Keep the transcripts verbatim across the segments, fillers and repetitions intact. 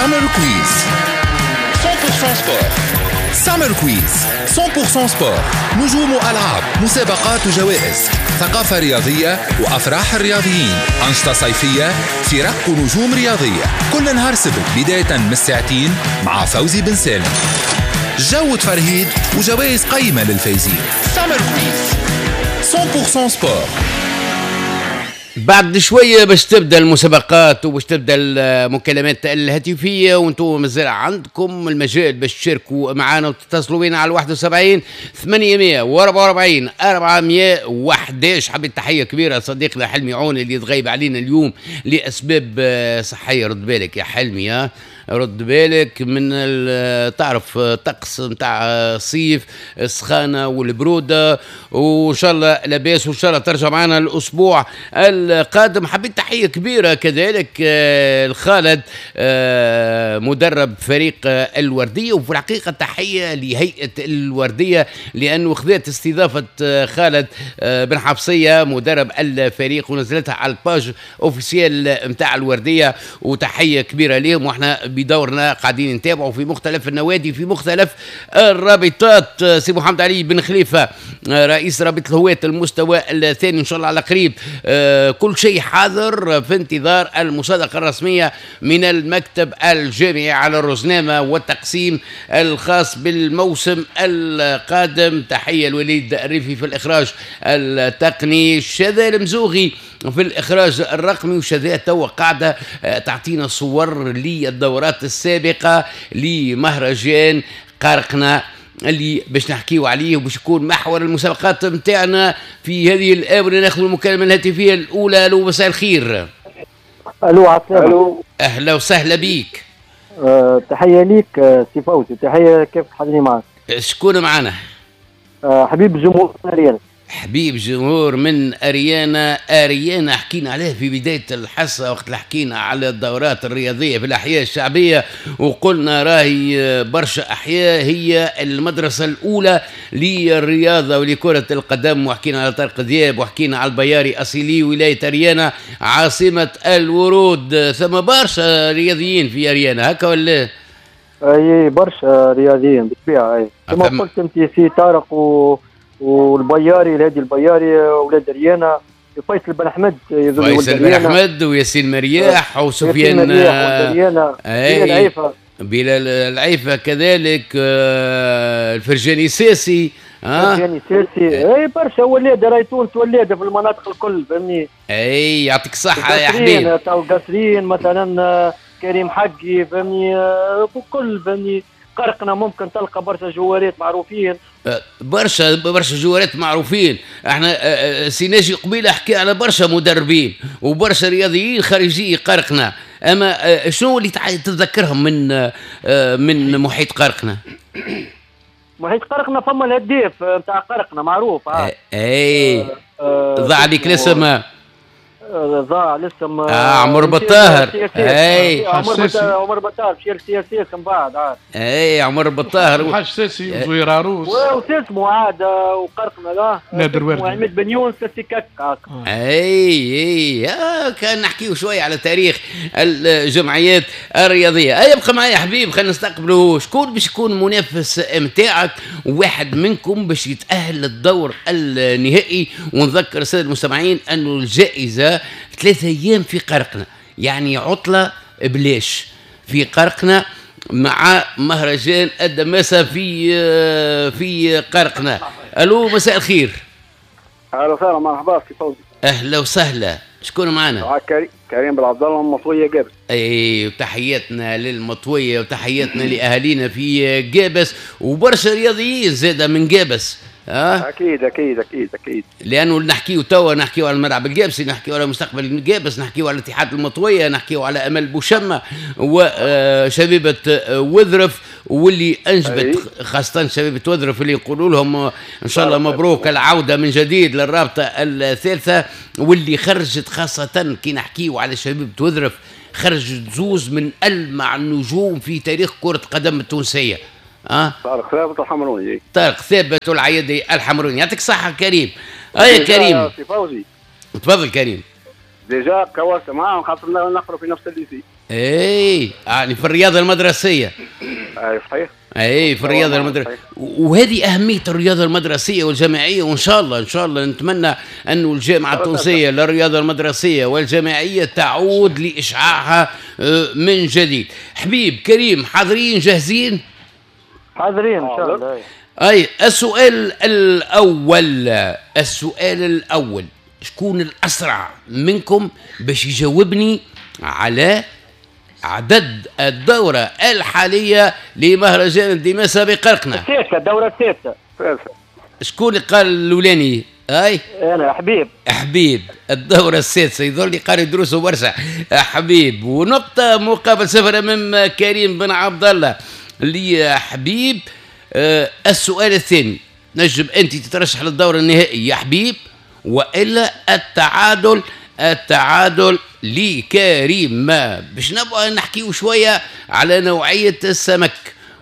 Summer Quiz مية بالمية sport. Summer Quiz مية بالمية sport، نجوم وألعاب، مسابقات وجوائز، ثقافة رياضية وأفراح الرياضيين، أنشطة صيفية، فرق ونجوم رياضية. كل نهار سبت بداية من الساعتين مع فوزي بن سالم، جو تفرهيد وجوائز قيمة للفايزين. Summer Quiz مية بالمية sport. بعد شوية باش تبدا المسابقات وباش تبدا المكالمات الهاتفيه، وانتم مازال عندكم المجال باش تشاركوا معنا وتتصلوا بنا على واحد وسبعين ثمانمية وأربعة وأربعين أربعمية وحداش. حبيت تحية كبيرة لصديقنا حلمي عون اللي تغيب علينا اليوم لاسباب صحيه. رد بالك يا حلمي، ها رد بالك من تعرف طقس نتاع الصيف، السخانه والبروده، وان شاء الله لاباس وان شاء الله ترجع معنا الاسبوع القادم. حبيت تحية كبيرة كذلك آه، الخالد آه، مدرب فريق الورديه، وفي الحقيقة تحية لهيئة الوردية لانه خذت استضافة آه، خالد بن حفصية مدرب الفريق ونزلتها على ال page officielle نتاع الورديه، وتحية كبيرة لهم. واحنا بدورنا قاعدين نتابعوا في مختلف النوادي، في مختلف الرابطات. سي محمد علي بن خليفة رئيس رابطه الهواة المستوى الثاني، ان شاء الله على قريب آه، كل شيء حاضر في انتظار المصادقة الرسمية من المكتب الجامعي على الرزنامه والتقسيم الخاص بالموسم القادم. تحية الوليد الريفي في الاخراج التقني، شذا المزوغي في الاخراج الرقمي، وشذا توا قاعدة آه، تعطينا صور للدورات السابقة لمهرجان قرقنا اللي باش نحكيو عليه وباش يكون محور المسابقات نتاعنا في هذه الاونه. ناخذ المكالمة الهاتفية الاولى. الو، مساء الخير. الو، عسلامة. الو، اهلا وسهلا بيك. أه تحية ليك آه، سي فوزي، تحية كيف حاضرين معك. شكون معنا؟ أه حبيب جمهور اريانا. حبيب جمهور من اريانا. اريانا حكينا عليه في بداية الحصة وقت حكينا على الدورات الرياضية في الاحياء الشعبيه، وقلنا راهي برشا احياء هي المدرسة الاولى للرياضة ولكره القدم، وحكينا على طارق ذياب وحكينا على البياري اصيلي ولاية اريانا عاصمة الورود. ثم برشا رياضيين في اريانا، هكا ولا؟ اي، برشا رياضيين بالطبيعه، اي، كما قلت انت سي طارق و والبياري، الهادي البياري ولاد ريانا، فيصل بن احمد. فيصل بن احمد وياسين مرياح وسفيان مرياح. اي، العيفه، بلال العيفه كذلك، آه، الفرجاني ساسي. اه الفرجاني ساسي، اي، برشا ولاد، راهي تونس ولاده في المناطق الكل، فهمني. اي، يعطيك الصحة يا حبيبي. تو قصرين مثلا آه، كريم حقي، فهمني، آه، كل، فهمني، قرقنا ممكن تلقى برشا جوارات معروفين. أه، برشا برشا جوارات معروفين. احنا أه، أه، سي ناجي قبيلة حكي على برشا مدربين وبرشا رياضيين خارجي قرقنا، اما شنو اللي تتذكرهم من من محيط قرقنا؟ محيط قرقنا فما الهداف نتاع قرقنا معروف. اي، ضاع عليك الاسم. ضاع الاسم. آه عمر بطاهر. اي، عمر عمر بطاهر مشى لل CSS من بعد عاد. اي، عمر بطاهر. حاج ساسي وزهير عروس. واسمه عاد وقرقنا لا. نادر وردي. عماد بن يونس سي كاك. اي اي آه كان نحكيو شوية على تاريخ الجمعيات الرياضيه. اي، ابقى معايا يا حبيب، خلينا نستقبلوا شكون باش يكون منافس نتاعك، واحد منكم باش يتاهل للدور النهائي. ونذكر السادة المستمعين انه الجائزة ثلاثة ايام في قرقنا، يعني عطله بلاش في قرقنا مع مهرجان الدماسة في في قرقنا. الو، مساء الخير. اهلا وسهلا، مرحبا سي فوزي. اهلا وسهلا، شكون معنا؟ معك كريم بن عبد الله من مطويه قابس. اي، وتحياتنا للمطويه وتحياتنا لاهالينا في قابس، وبرشا رياضيين زاده من قابس. أه؟ اكيد اكيد اكيد اكيد. لانه نحكيو توا، نحكيو على الملعب القابسي، نحكيو على مستقبل القابس، نحكيو على اتحاد المطويه، نحكيو على امل بوشمه وشبيبه وذرف، واللي انجبت خاصة شبيبة وذرف اللي يقولوا لهم ان شاء الله مبروك العودة من جديد للرابطة الثالثه، واللي خرجت خاصة كي نحكيو على شبيبة وذرف خرجت زوز من المع النجوم في تاريخ كره القدم التونسيه. أه؟ طارق ثابت الحمروني. طارق ثابت والعيادي الحمروني. يعطيك الصحة كريم. اي كريم. سي فوزي. تفضل كريم. déjà كورت معاهم خاطر نقرا في نفس ال lycée. اي يعني في الرياضة المدرسية. اي صحيح. اي في الرياضة المدرسية، وهذه اهمية الرياضة المدرسية والجامعيه، وان شاء الله ان شاء الله نتمنى انه الجامعة التونسية للرياضة المدرسية والجامعيه تعود لاشعاعها من جديد. حبيب كريم حاضرين جاهزين؟ حاضرين ان شاء الله. اي السؤال الاول، السؤال الاول، شكون الاسرع منكم باش يجاوبني على عدد الدورة الحالية لمهرجان الدماسة بقرقنة؟ السادسة، الدورة السادسة. شكون اللي قال الأولاني؟ أي؟ أنا حبيب. حبيب، الدورة السادسة، يظل لي قاري دروسه برشا. حبيب، ونقطة مقابل صفر أمام كريم بن عبد الله لحبيب. آه السؤال الثاني، نجم أنت تترشح للدور النهائي يا حبيب، وإلا التعادل، التعادل لكريم. باش نبقى نحكيو شوية على نوعية السمك،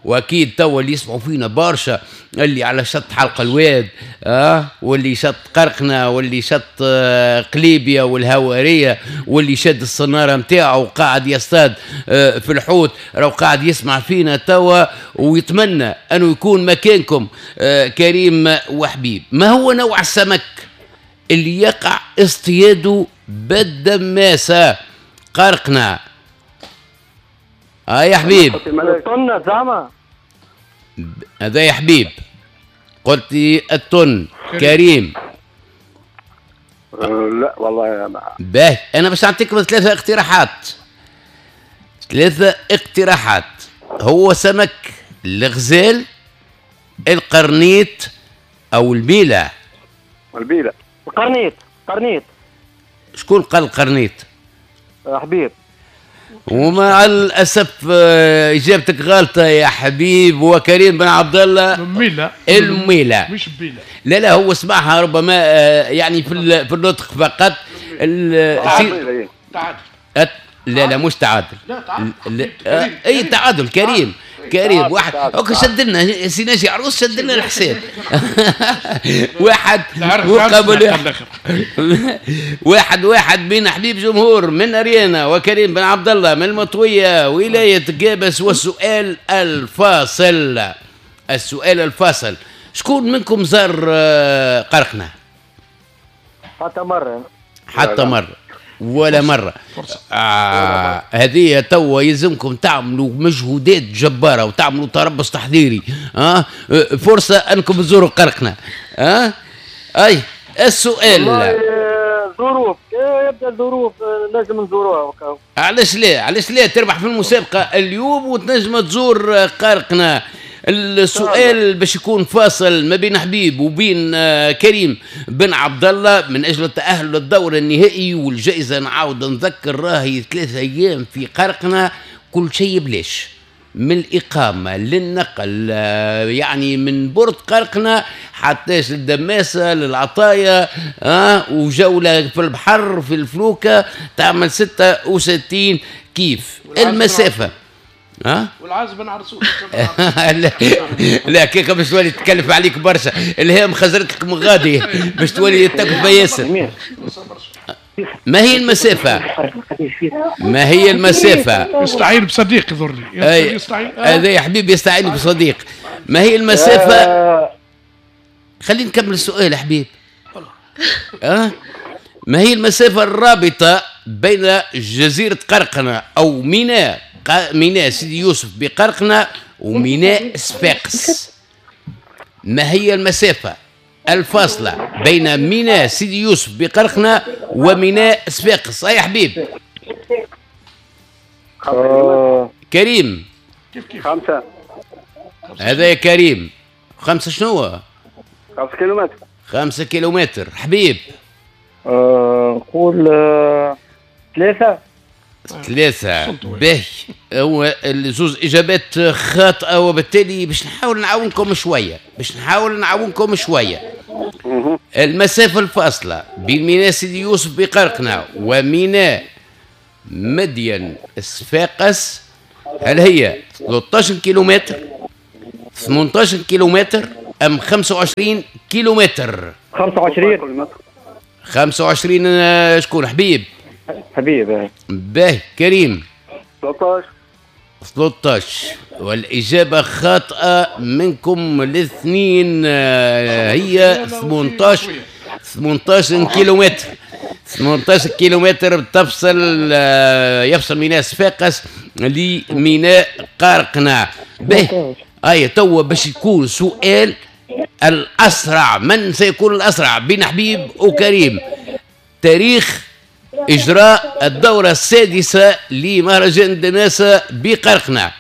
واكيد توا اللي يسمعوا فينا برشا اللي على شط حلق الواد اه واللي شط قرقنه واللي شط آه قليبيا والهواريه واللي شد الصناره نتاعو وقاعد يصطاد آه في الحوت، راهو قاعد يسمع فينا توا ويتمنى انه يكون مكانكم آه كريم وحبيب. ما هو نوع السمك اللي يقع اصطياده بالدماسة قرقنة؟ اه يا حبيب. الطن زعما. هذا يا حبيب قلت لي الطن. كريم. لا والله ما باهي، انا باش نعطيكم ثلاثة اقتراحات. ثلاثة اقتراحات، هو سمك الغزال، القرنيط، او البيلة. البيلة. القرنيط. قرنيط. شكون قال القرنيط؟ حبيب. ومع الاسف اجابتك غلطه يا حبيب. وكريم بن عبد الله الميلة. الميلة مش بيلة. لا لا، هو سمعها ربما يعني في في النطق فقط. تعادل. لا لا مش تعادل. لا تعادل. اي تعادل كريم. كريم واحد. okay شد لنا سي ناجي عروس، شد لنا الحساب. واحد مقابل واحد واحد بين حبيب جمهور من اريانا وكريم بن عبد الله من المطويه ولاية قابس. والسؤال الفاصل، السؤال الفاصل، شكون منكم زار قرقنة؟ حتى مرة. حتى مرة ولا مرة. آه هذه توا يلزمكم تعملوا مجهودات جبارة وتعملوا تربص تحضيري. آه فرصة أنكم تزوروا قرقنة. آه أي السؤال. ظروف، يبدا الظروف لازم نزوروها. علاش لا؟ علاش لا تربح في المسابقة اليوم وتنجم تزور قرقنة. السؤال باش يكون فاصل ما بين حبيب وبين كريم بن عبد الله من اجل التاهل للدور النهائي والجائزه. نعاود نذكر راهي ثلاثة ايام في قرقنة، كل شيء بلاش، من الاقامة للنقل، يعني من برد قرقنة حتى للدماسه للعطايا، اه وجوله في البحر في الفلوكه تعمل ستة وستين كيف المسافة. ها؟ والعازب نعرسوش. لا لا كيك باش تولي تكلف عليك برشا، الهام خزرت لك من غادي باش تولي تكلفة ياسر. ما هي المسافة؟ ما هي المسافة؟ يستعين بصديق يضرني. يستعين. هذا يا حبيبي يستعين بصديق. ما هي المسافة؟ خلينا نكمل السؤال يا حبيب. أه؟ ما هي المسافة الرابطة بين جزيرة قرقنة أو ميناء ميناء سيدي يوسف بقرقنة وميناء صفاقس؟ ما هي المسافة الفاصلة بين ميناء سيدي يوسف بقرقنة وميناء صفاقس؟ يا حبيب. كريم. خمسة. هذا يا كريم. خمسة شنو؟ خمسة كيلومتر. خمسة كيلومتر. حبيب. نقول ثلاثة. ثلاثة. باهي، هو الزوز إجابات خاطئة، وبالتالي باش نحاول نعاونكم شوية، باش نحاول نعاونكم شوية. المسافة الفاصلة بين ميناء سيدي يوسف بقرقنة وميناء مدين صفاقس هل هي ثلاثة عشر كيلومتر، ثمانية عشر كيلومتر، أم خمسة وعشرين كيلومتر؟ خمسة وعشرين. خمسة وعشرين. شكون حبيب؟ حبيب. باهي كريم. ثلاثة عشر. ثلاثة عشر، والإجابة خاطئة منكم الاثنين، آه، هي ثمنطاش، ثمنطاش كيلومتر، ثمنطاش كيلومتر تفصل آه، يفصل ميناء صفاقس لميناء قرقنة. به، اي تو باش يكون سؤال الاسرع، من سيكون الاسرع بين حبيب وكريم؟ تاريخ اجراء الدورة السادسة لمهرجان دماسه بقرقنه.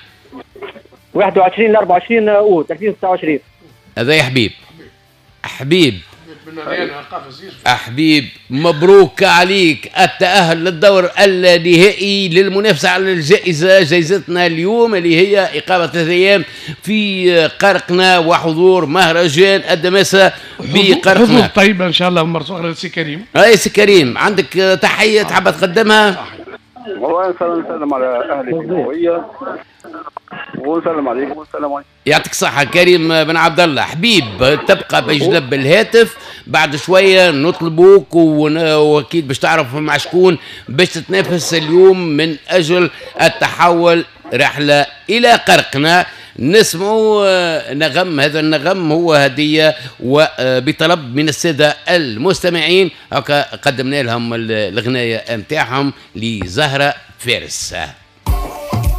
واحد وعشرين ل أربعة وعشرين اوت ألفين وستة وعشرين. هذا يا حبيب. حبيب، حبيب، مبروك عليك التأهل للدور النهائي للمنافسة على الجائزة، جائزتنا اليوم اللي هي إقامة ثلاثة أيام في قرقنة وحضور مهرجان الدماسة بقرقنة. حظوظ طيبة إن شاء الله مرة أخرى سي كريم. أي سي كريم، عندك تحية تحب تقدمها؟ والله نسلم على أهلي في الهوية ونسلم عليكم والسلام عليكم. يعطيك الصحة كريم بن عبد الله. حبيب، تبقى بجنب الهاتف، بعد شوية نطلبوك واكيد باش تعرف مع شكون باش تتنافس اليوم من اجل التحول رحلة الى قرقنة. نسمعوا آه، نغم، هذا النغم هو هدية وبطلب من السادة المستمعين، هكا قدمنا لهم الغناية متاعهم لزهرة فارس.